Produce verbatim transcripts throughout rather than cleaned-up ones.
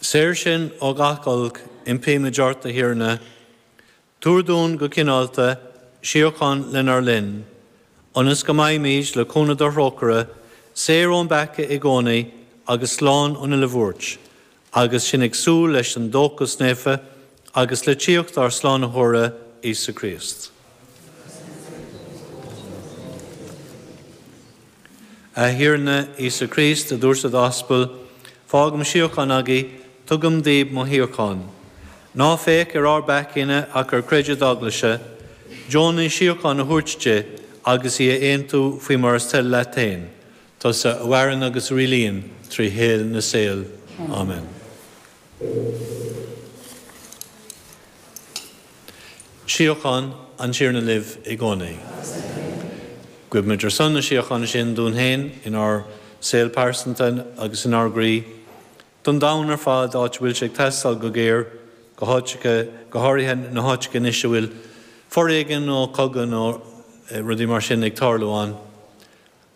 Saor sinn ó gach olc, impímid ort, a Thiarna, tabhair dúinn go cineálta, síocháin lenár linn, ionas go mbeimid le cúnamh do thrócaire, saor ón bpeaca i gcónaí agus slán ón uile bhuairt, agus sinn ag súil leis an dóchas naofa agus le tíocht ár Slánaitheora Íosa Críost. A Thiarna Íosa Críost, a dúirt do d'aspail, fágaim síocháin agaibh, tugaim daoibh mo shíocháin. Ná féach ar ár bpeacaí-ne ach ar chreideamh d'eaglaise, deonaigh síocháin a thabhairt di agus í a aontú faoi mar is toil leat féin, tusa a mhaireann agus a rialaíonn trí shaol na saol. Amen. Síocháin an Tiarna libh i gcónaí. Guímid ar son na síochána sin dúinn féin inár saol pearsanta agus inár gcroí, don domhan ar fad áit a bhfuil sé ag teastáil go géar, go háiteacha, go háirithe na háiteacha anois a bhfuil foréigean nó cogadh nó rudaí mar sin ag tarlú ann.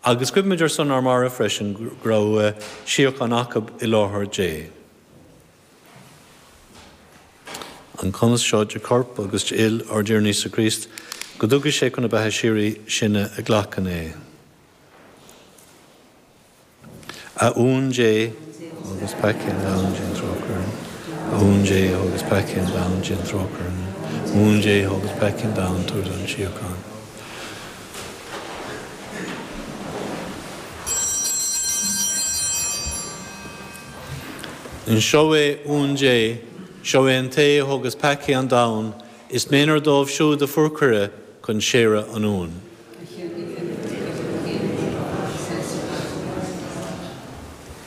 Agus guímid ar son ár mairbh freisin go raibh síocháin acu i láthair Dé. An cumasc seo de chorp agus de fhuil ár dTiarna Íosa Críost, go dtuga sé chun na beatha síoraí sinne a ghlacann é. A Uan Dé, agus peacaí an domhain, déan trócaire orainn. A Uan Dé, agus peacaí an domhain, déan trócaire orainn. A Uan Dé, agus peacaí an domhain, tabhair dúinn síocháin. Seo é Uan Dé, seo é an té a thógas peacaí an domhain, is méanar dóibh siúd a fuair cuireadh chun séire an Uain.